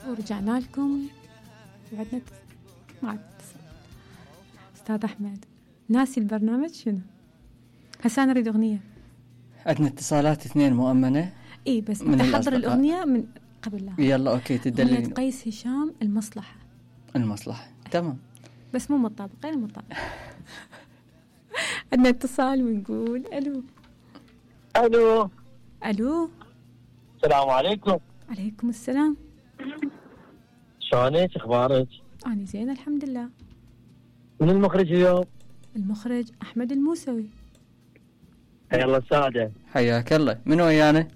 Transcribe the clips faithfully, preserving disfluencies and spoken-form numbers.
ورجعنا لكم وعدنا ما عاد استاذ احمد ناسي البرنامج شنو هسه انا اريد اغنيه. عندنا اتصالات اثنين مؤمنه. اي بس انت حضر الاغنيه من قبل لا. يلا اوكي تدلين. قيس هشام المصلحه. المصلحه تمام بس مو مطابق غير مطابق. عندنا اتصال ونقول الو. الو الو السلام عليكم. عليكم السلام. شلونك اخبارك؟ انا زين الحمد لله. من المخرج اليوم؟ المخرج احمد الموسوي. حيا الله الساده. حياك الله. من ويانا؟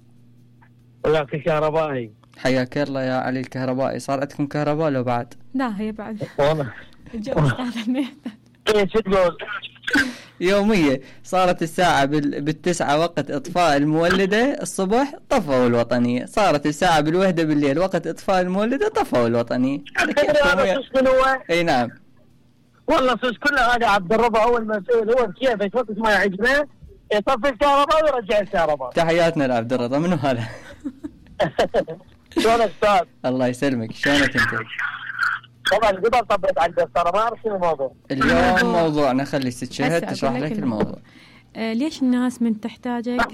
وياك الكهربائي. حياك الله يا علي الكهربائي. صار عندكم كهرباء لو بعد؟ لا هي بعد والله الجو استاذ. ايش تقول؟ يومية صارت الساعة بال... بالتسعة وقت إطفاء المولدة الصبح طفوا الوطنية، صارت الساعة بالوحدة بالليل وقت إطفاء المولدة طفوا الوطنية. أي نعم والله صوص كله هذا عبد الرب أول مسؤول هو كيف وقت ما يعجبه يطفي الكهرباء ويرجع الكهرباء. تحياتنا لعبد الرضا. منو هذا؟ شلونك أستاذ؟ الله يسلمك. شلونك أنت؟ طبعا قبل طبيت على الدفتر ما أعرف شنو الموضوع. اليوم موضوعنا خلي ست شهد تشرح لك الموضوع. آه ليش الناس من تحتاجك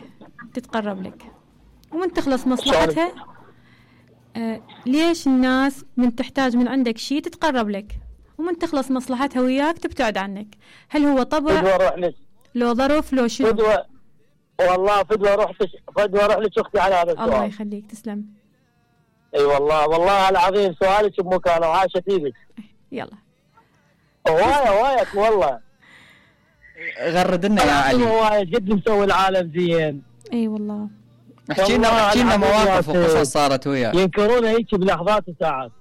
تتقرب لك ومن تخلص مصلحتها؟ آه ليش الناس من تحتاج من عندك شيء تتقرب لك ومن تخلص مصلحتها وياك تبتعد عنك؟ هل هو طبع لو ظرف لو شنو؟ فدوة والله فدوة روح فدوة روح لك أختي على هذا السؤال. الله يخليك تسلم. اي أيوة والله والله العظيم سؤالك بمكانه وعاشت ايدك. يلا هوايه هوايه والله. غرد لنا يا علي. هوايه جد مسوي العالم زين. اي والله. احكي لنا احكي لنا مواقف وقصص صارت وياك. ينكرونه هيك بلحظات وساعات.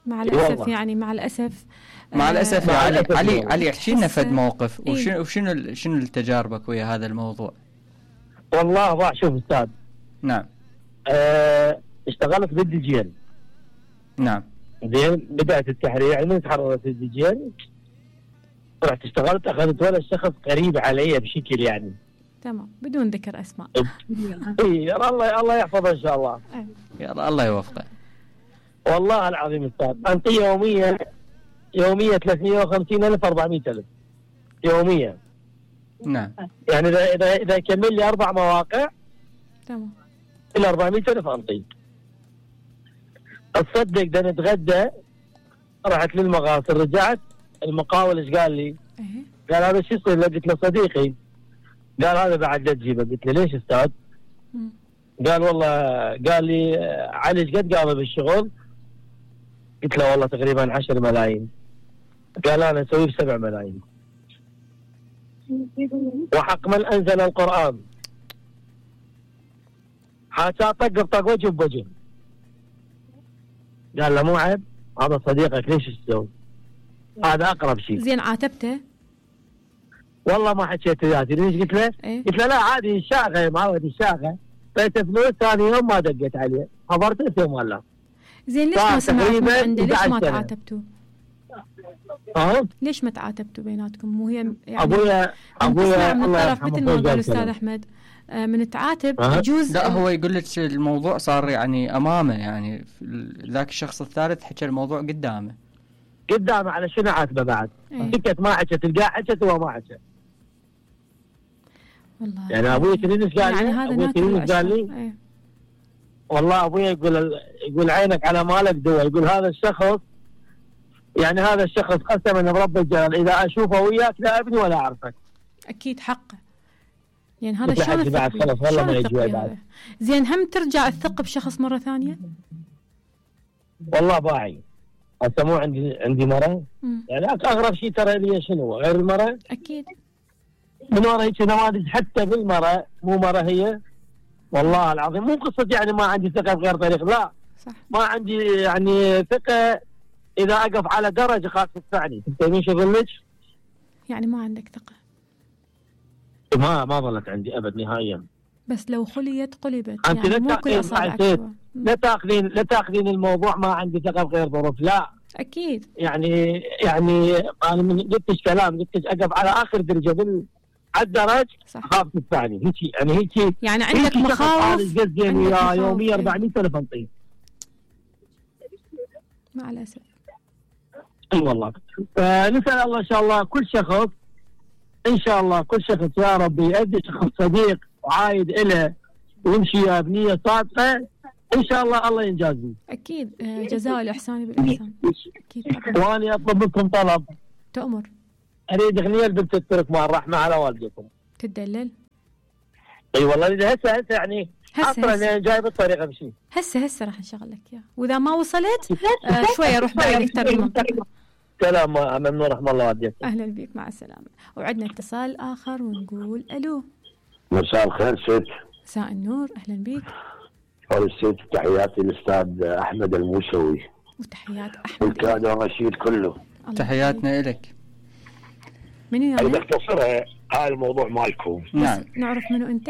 مع الاسف يعني مع الاسف مع الاسف يا علي. علي علي احكي لنا فد موقف وشنو وشنو شنو تجاربك ويا هذا الموضوع؟ والله راح شوف استاذ. نعم. أه اشتغلت بالديجين. نعم. زين بدأت التحرير يعني من تحررت الديجين رحت اشتغلت اخذت ولد شخص قريب علي بشكل يعني. تمام بدون ذكر اسماء. اي الله الله يحفظه ان شاء الله. يا الله يوفقه. والله العظيم استاذ انت يوميا يوميا ثلاثمية وخمسين ألف أربعمية ألف يوميا. نعم. يعني اذا اذا اذا كمل لي اربع مواقع تمام الى أربعمية ألف انطي. تصدق ده نتغدى رحت للمغاسل رجعت المقاول ايش قال لي؟ ايه قال هذا شو يصير؟ قلت له صديقي. قال هذا بعد لا تجيبه. قلت له ليش استاذ؟ مم. قال والله قال لي علي ايش قد قام بالشغل؟ قلت له والله تقريبا عشر ملايين. قال انا اسويه بسبع ملايين. وحق من انزل القران حتى طق بطق وجه بوجه. قال له مو عيب هذا صديقك ليش تسوي؟ هذا اقرب شيء. زين عاتبته؟ والله ما حكيت ذاتي. ليش قلت له؟ إيه؟ قلت له لا عادي الشاغه يا معود الشاغه. فايت فلوس ثاني يوم ما دقيت عليه خبرته يوم ولا. زين ليش ما سمعت من عنده؟ ليش ما تعاتبتوا؟ اه ليش ما تعاتبتوا بيناتكم؟ مو هي يعني ابويا ابويا من الله الطرف مثل ما قال الاستاذ احمد من تعاتب يجوز. لا هو يقول لك الموضوع صار يعني امامه يعني ذاك الشخص الثالث حكى الموضوع قدامه. قدامه على شنو عاتبه بعد؟ سكت ما حكت تلقاه حكت وهو ما حكى. والله يعني ابوي تدري ايش قال لي؟ يعني ابوي تدري ايش قال لي؟ ايه. والله ابوي يقول يقول عينك على مالك دوا. يقول هذا الشخص يعني هذا الشخص قسما برب الجلال اذا اشوفه وياك لا ابني ولا اعرفك. اكيد حقه. يعني هذا شلون بعد خلاص والله ما يجي بعد. زين هم ترجع الثقة بشخص مرة ثانية؟ والله باعي. هسه مو عندي عندي مرة. مم. يعني اغرب شيء ترى لي شنو غير المرة؟ اكيد. من ورا هيك نماذج حتى بالمرة مو مرة هي. والله العظيم مو قصة يعني ما عندي ثقة بغير طريق لا. صح. ما عندي يعني ثقة اذا اقف على درج خاف تدفعني. تبين شو اقول لك؟ يعني ما عندك ثقة؟ ما ما ظلت عندي ابد نهائيا. بس لو خليت قلبت. انت يعني لا مو كل اصابعك. لا تاخذين لا تاخذين الموضوع ما عندي ثقة بغير ظروف لا. اكيد. يعني يعني انا من قلتش كلام قلتش اقف على اخر درجة بال الدرج صح. اخاف الثاني هيك يعني هيك يعني عندك مخاوف قد وياه يوميا أربعمية ألف انطيه مع الاسف. اي والله. فنسال الله ان شاء الله كل شخص ان شاء الله كل شخص يا رب يؤدي شخص صديق وعايد له ويمشي بنيه صادقه ان شاء الله الله ينجازيه. اكيد جزاء الاحسان بالاحسان. اكيد طبعا. واني اطلب منكم طلب. تؤمر. اريد اغنيه لبنت الترك مع الرحمه على والدكم. تدلل؟ اي والله اذا هسه هسه يعني هسه اصلا جاي بالطريقه بمشي. هسه هسه راح نشغل لك اياه، واذا ما وصلت آه شويه روح بعيد اكثر بالمنطقه. سلام ممنون رحم الله والديك. اهلا بك مع السلامه. وعندنا اتصال اخر ونقول الو. مساء الخير ست. مساء النور اهلا بك. اول ست تحياتي للاستاذ احمد الموسوي وتحيات احمد والكادر الرشيد كله. تحياتنا لك. منو يا انا بختصرها هاي الموضوع مالكم. نعم. نعرف منو انت؟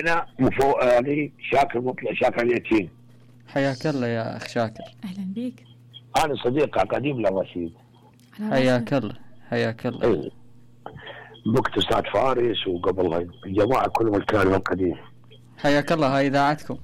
انا مفو... يعني شاكر مطلع شاكر اليتيم. حياك الله يا اخ شاكر. اهلا بك. انا صديق قديم للرشيد. حياك الله حياك الله. اي بوقت استاذ فارس وقبل الجماعه كلهم الكلام القديم. حياك الله هاي اذاعتكم.